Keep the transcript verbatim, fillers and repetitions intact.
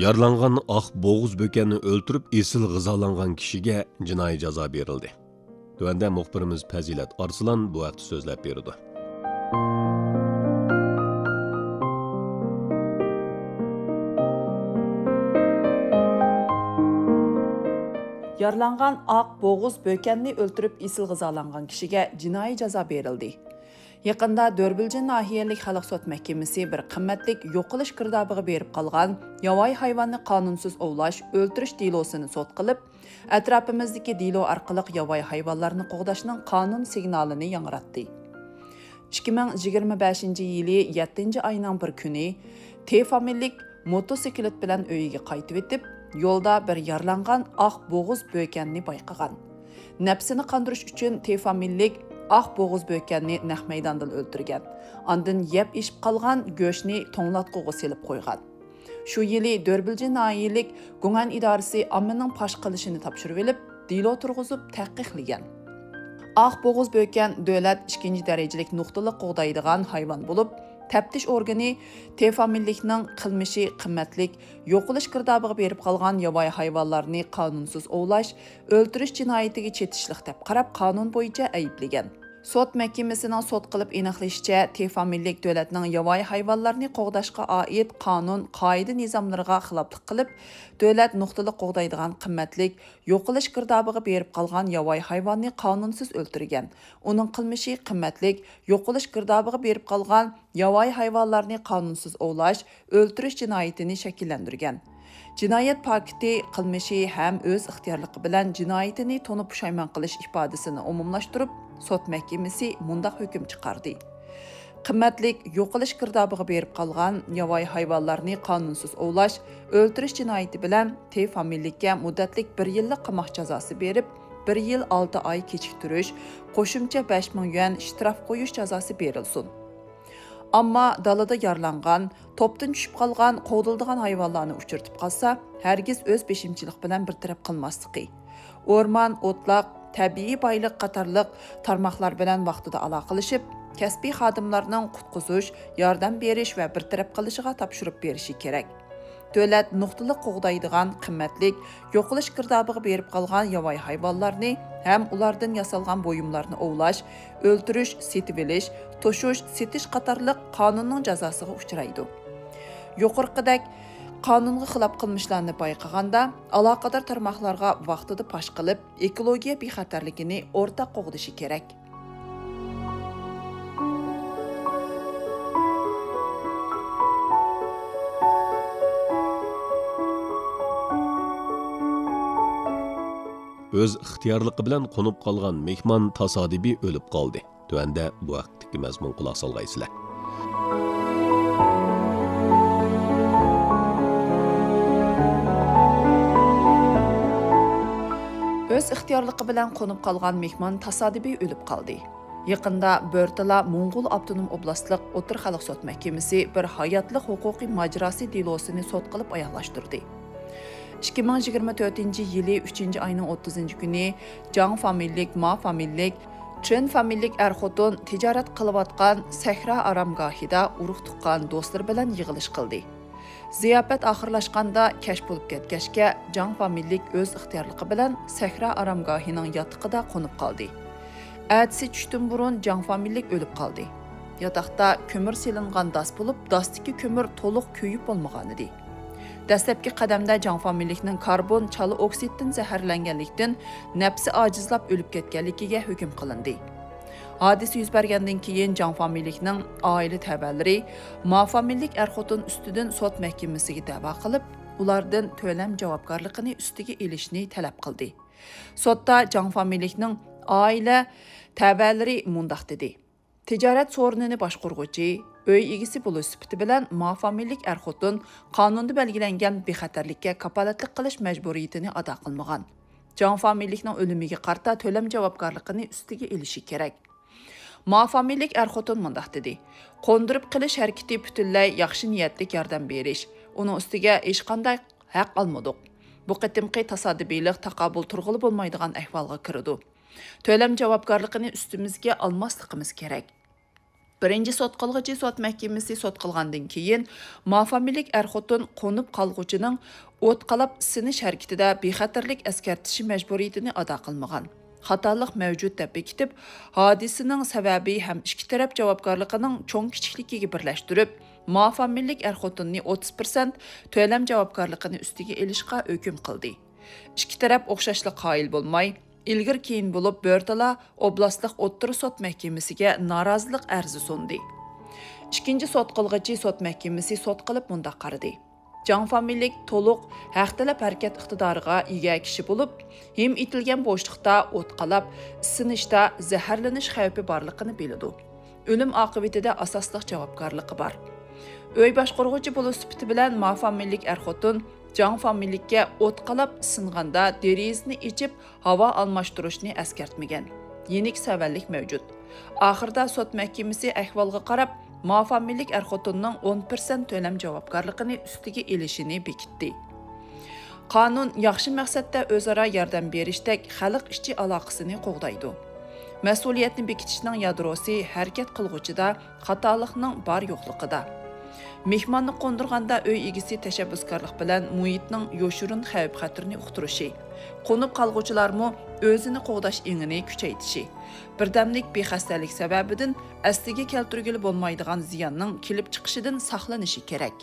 يارىلانغان ئاق بوغۇز بۆكەننى ئۆلتۈرۈپ، ئېسىل غىزالانغان كىشىگە جىنايى جازا بېرىلدى. تۆۋەندە مۇخبىرىمىز پەزىلەت ئارسلان بۇ ھەقتە سۆزلەپ بېرىدۇ. يارىلانغان ئاق بوغۇز بۆكەننى ئۆلتۈرۈپ، ئېسىل غىزالانغان كىشىگە جىنايى جازا بېرىلدى. يېقىندا دۆربىلجىن ناھىيەلىك خەلق سوت مەھكىمىسى بىر قىممەتلىك يوقىلىش گىردابىغا بېرىپ قالغان ياۋايى ھايۋاننى قانۇنسىز ئوۋلاش، ئۆلتۈرۈش دېلوسىنى سوت قىلىپ، ئەتراپىمىزدىكى دېلو ئارقىلىق ياۋايى ھايۋانلارنى قوغداشنىڭ قانۇن سىگنالىنى ياڭراتتى. ئىككى مىڭ يىگىرمە بەشىنچى يىلى يەتتىنچى ئاينىڭ بىر كۈنى تې فامىلىلىك موتوسىكلىت بىلەن ئۆيىگە قايتىۋېتىپ، يولدا بىر يارىلانغان ئاق بوغۇز بۆكەننى بايقىغان. نەپسىنى قاندۇرۇش ئۈچۈن تې فامىلىلىك ئاق بوغۇز بۆكەننى نەق مەيداندىلا ئۆلتۈرگەن. ئاندىن يەپ ئېشىپ قالغان گۆشنى توڭلاتقۇغا سېلىپ قويغان. شۇ يىلى دۆربىلجىن ناھىيەلىك گۇڭئەن ئىدارىسى ئاممىنىڭ پاش قىلىشىنى تاپشۇرۇۋېلىپ، دېلو تۇرغۇزۇپ تەھقىقلىگەن. ئاق بوغۇز بۆكەن دۆلەت ئىككىنچى دەرىجىلىك نۇقتىلىق قوغدايدىغان ھايۋان بولۇپ، تەپتىش ئورگىنى تې فامىلىلىكنىڭ قىلمىشى قىممەتلىك يوقىلىش گىردابىغا بېرىپ قالغان ياۋايى ھايۋانلارنى قانۇنسىز ئوۋلاش، ئۆلتۈرۈش جىنايىتىگە چېتىشلىق دەپ قاراپ، قانۇن بويىچە ئەيىبلىگەن. سوت مەھكىمىسىنىڭ سوت قىلىپ ئېنىقلىشىچە، تې فامىلىلىك دۆلەتنىڭ ياۋايى ھايۋانلارنى قوغداشقا ئائىت قانۇن، قائىدە-نىزاملىرىغا خىلاپلىق قىلىپ، دۆلەت نۇقتىلىق قوغدايدىغان قىممەتلىك يوقىلىش گىردابىغا بېرىپ قالغان ياۋايى ھايۋاننى قانۇنسىز ئۆلتۈرگەن. ئۇنىڭ قىلمىشى قىممەتلىك يوقىلىش گىردابىغا بېرىپ قالغان ياۋايى ھايۋانلارنى قانۇنسىز ئوۋلاش، ئۆلتۈرۈش جىنايىتىنى شەكىللەندۈرگەن. جىنايەت پاكىتى، قىلمىشى ھەم ئۆز ئىختىيارلىقى بىلەن جىنايىتىنى تونۇپ پۇشايمان قىلىش ئىپادىسىنى ئومۇملاشتۇرۇپ، سوت مەھكىمىسى مۇنداق ھۆكۈم چىقاردى: قىممەتلىك يوقىلىش گىردابىغا بېرىپ قالغان ياۋايى ھايۋانلارنى قانۇنسىز ئوۋلاش، ئۆلتۈرۈش جىنايىتى بىلەن تې فامىلىلىككە مۇددەتلىك بىر يىللىق قاماق جازاسى بېرىپ، بىر يىل ئالتە ئاي كېچىكتۈرۈش، قوشۇمچە بەش مىڭ يۈەن شتراف قويۇش جازاسى بېرىلسۇن. ئامما دالىدا يارىلانغان، توپتىن چۈشۈپ قالغان، قوغدىلىدىغان ھايۋانلارنى ئۇچرىتىپ قالسا، ھەرگىز ئۆز بېشىمچىلىق بىلەن بىر تەرەپ قىلماسلىقى، ئورمان، ئوتلاق، تەبىئىي بايلىق قاتارلىق تارماقلار بىلەن ۋاقتىدا ئالاقىلىشىپ، كەسپىي خادىملارنىڭ قۇتقۇزۇش، ياردەم بېرىش ۋە بىر تەرەپ قىلىشىغا تاپشۇرۇپ بېرىشى كېرەك. دۆلەت نۇقتىلىق قوغدايدىغان قىممەتلىك يوقىلىش گىردابىغا بېرىپ قالغان ياۋايى ھايۋانلارنى ھەم ئۇلاردىن ياسالغان بۇيۇملارنى ئوۋلاش، ئۆلتۈرۈش، سېتىۋېلىش، توشۇش، سېتىش قاتارلىق قانۇننىڭ جازاسىغا ئۇچرايدۇ. يۇقىرىقىدەك قانۇنغا خىلاپ قىلمىشلارنى بايقىغاندا، ئالاقىدار تارماقلارغا ۋاقتىدا پاش قىلىپ، ئېكولوگىيە بىخەتەرلىكىنى ئورتاق قوغدىشى كېرەك. ئۆز ئىختىيارلىقى بىلەن قونۇپ قالغان مېھمان تاسادىپىي ئۆلۈپ قالدى. تۆۋەندە بۇ ھەقتىكى مەزمۇن قۇلاق سالغايسىلەر. ئۆز ئىختىيارلىقى بىلەن قونۇپ قالغان مېھمان تاسادىپىي ئۆلۈپ قالدى. يېقىندا بۆرتالا موڭغۇل ئاپتونوم ئوبلاستلىق ئوتتۇرا خەلق سوت مەھكىمىسى بىر ھاياتلىق ھوقۇقىي ماجىراسى دېلوسىنى سوت قىلىپ ئاياغلاشتۇردى. ئىككى مىڭ يىگىرمە تۆتىنچى يىلى ئۈچىنچى ئاينىڭ ئوتتۇزىنچى كۈنى جاڭ فامىلىلىك، ما فامىلىلىك، چېن فامىلىلىك ئەر-خوتۇن تىجارەت قىلىۋاتقان سەھرا ئارامگاھىدا ئۇرۇق-تۇغقان، دوستلىرى بىلەن يىغىلىش قىلدى. زىياپەت ئاخىرلاشقاندا كەچ بولۇپ كەتكەچكە، جاڭ فامىلىلىك ئۆز ئىختىيارلىقى بىلەن سەھرا ئارامگاھىنىڭ ياتىقىدا قونۇپ قالدى. ئەتىسى چۈشتىن بۇرۇن جاڭ فامىلىلىك ئۆلۈپ قالدى. ياتاقتا كۆمۈر سېلىنغان داس بولۇپ، داستىكى كۆمۈر تولۇق كۆيۈپ بولمىغانىدى. دەسلەپكى قەدەمدە جاڭ فامىلىلىكنىڭ كاربون چالا ئوكسىدتىن زەھەرلەنگەنلىكتىن نەپسى ئاجىزلاپ ئۆلۈپ كەتكەنلىكىگە ھۆكۈم قىلىندى. ھادىسە يۈز بەرگەندىن كېيىن جاڭ فامىلىلىكنىڭ ئائىلە تەۋەلىرى ما فامىلىلىك ئەر-خوتۇن ئۈستىدىن سوت مەھكىمىسىگە دەۋا قىلىپ، ئۇلاردىن تۆلەم جاۋابكارلىقىنى ئۈستىگە ئېلىشنى تەلەپ قىلدى. سوتتا جاڭ فامىلىلىكنىڭ ئائىلە تەۋەلىرى مۇنداق دېدى: تىجارەت سورۇنىنى باشقۇرغۇچى، ئۆي ئىگىسى بولۇش سۈپىتى بىلەن ما فامىلىلىك ئەر-خوتۇن قانۇندا بەلگىلەنگەن بىخەتەرلىككە كاپالەتلىك قىلىش مەجبۇرىيىتىنى ئادا قىلمىغان. جاڭ فامىلىلىكنىڭ ئۆلۈمىگە قارىتا تۆلەم جاۋابكارلىقىنى ئۈستىگە ئېلىشى كېرەك. ما فامىلىلىك ئەر-خوتۇن مۇنداق دېدى: قوندۇرۇپ قېلىش ھەرىكىتى پۈتۈنلەي ياخشى نىيەتلىك ياردەم بېرىش. ئۇنىڭ ئۈستىگە ھېچقانداق ھەق ئالمىدۇق. بۇ قېتىمقى تاسادىپىيلىق تاقابىل تۇرغىلى بولمايدىغان ئەھۋالغا كىرىدۇ. تۆلەم جاۋابكارلىقىنى ئۈستىمىزگە ئالماسلىقىمىز كېرەك. بىرىنچى سوت قىلغۇچى سوت مەھكىمىسى سوت قىلغاندىن كېيىن، مافامىلىك ئەر-خوتۇن قونۇپ قالغۇچىنىڭ ئوت قالاپ سىنىش ھەرىكىتىدە بىخەتەرلىك ئەسكەرتىشى مەجبۇرىيىتىنى ئادا قىلمىغان، خاتالىق مەۋجۇت دەپ بېكىتىپ، ھادىسىنىڭ سەۋەبى ھەم ئىككى تەرەپ جاۋابكارلىقىنىڭ چوڭ-كىچىكلىكىگە بىرلەشتۈرۈپ، مافامىلىك ئەر-خوتۇننى ئوتتۇز پىرسەنت تۆلەم جاۋابكارلىقىنى ئۈستىگە ئېلىشقا ھۆكۈم قىلدى. ئىككى تەرەپ ئوخشاشلا قايىل بولماي، ئىلگىرى-كېيىن بولۇپ بۆرتالا ئوبلاستلىق ئوتتۇرا سوت مەھكىمىسىگە نارازىلىق ئەرزى سۇندى. ئىككىنچى سوت قىلغۇچى سوت مەھكىمىسى سوت قىلىپ مۇنداق قارىدى: جاڭ فامىلىلىك تولۇق ھەق تەلەپ ھەرىكەت ئىقتىدارىغا ئىگە كىشى بولۇپ، ھىم ئېتىلگەن بوشلۇقتا ئوت قالاپ، ئىسسىنىشتا زەھەرلىنىش خەۋپى بارلىقىنى بىلىدۇ. ئۆلۈم ئاقىۋىتىدە ئاساسلىق جاۋابكارلىقى بار. ئۆي باشقۇرغۇچى بولۇش سۈپىتى بىلەن ما فامىلىلىك ئەر-خوتۇن جاڭ فامىلىلىككە ئوت قالاپ ئىسسىنغاندا دېرىزىنى ئېچىپ ھاۋا ئالماشتۇرۇشنى ئەسكەرتمىگەن. يېنىك سەۋەنلىك مەۋجۇت. ئاخىرىدا سوت مەھكىمىسى ئەھۋالغا قاراپ، ما فامىلىلىك ئەر-خوتۇننىڭ ئون پىرسەنت تۆلەم جاۋابكارلىقىنى ئۈستىگە ئېلىشىنى بېكىتتى. قانۇن ياخشى مەقسەتتە ئۆزئارا ياردەم بېرىشتەك خەلق ئىچى ئالاقىسىنى قوغدايدۇ. مەسئۇلىيەتنى بېكىتىشنىڭ يادروسى ھەرىكەت قىلغۇچىدا، خاتالىقنىڭ بار-يوقلۇقىدا. مېھماننى قوندۇرغاندا ئۆي ئىگىسى تەشەببۇسكارلىق بىلەن مۇھىتنىڭ يوشۇرۇن خەۋپ-خەتىرىنى ئۇقتۇرۇشى، قونۇپ قالغۇچىلارمۇ ئۆزىنى قوغداش ئېڭىنى كۈچەيتىشى، بىردەملىك بىخەستەلىك سەۋەبىدىن ئەسلىگە كەلتۈرگىلى بولمايدىغان زىياننىڭ كېلىپ چىقىشىدىن ساقلىنىشى كېرەك.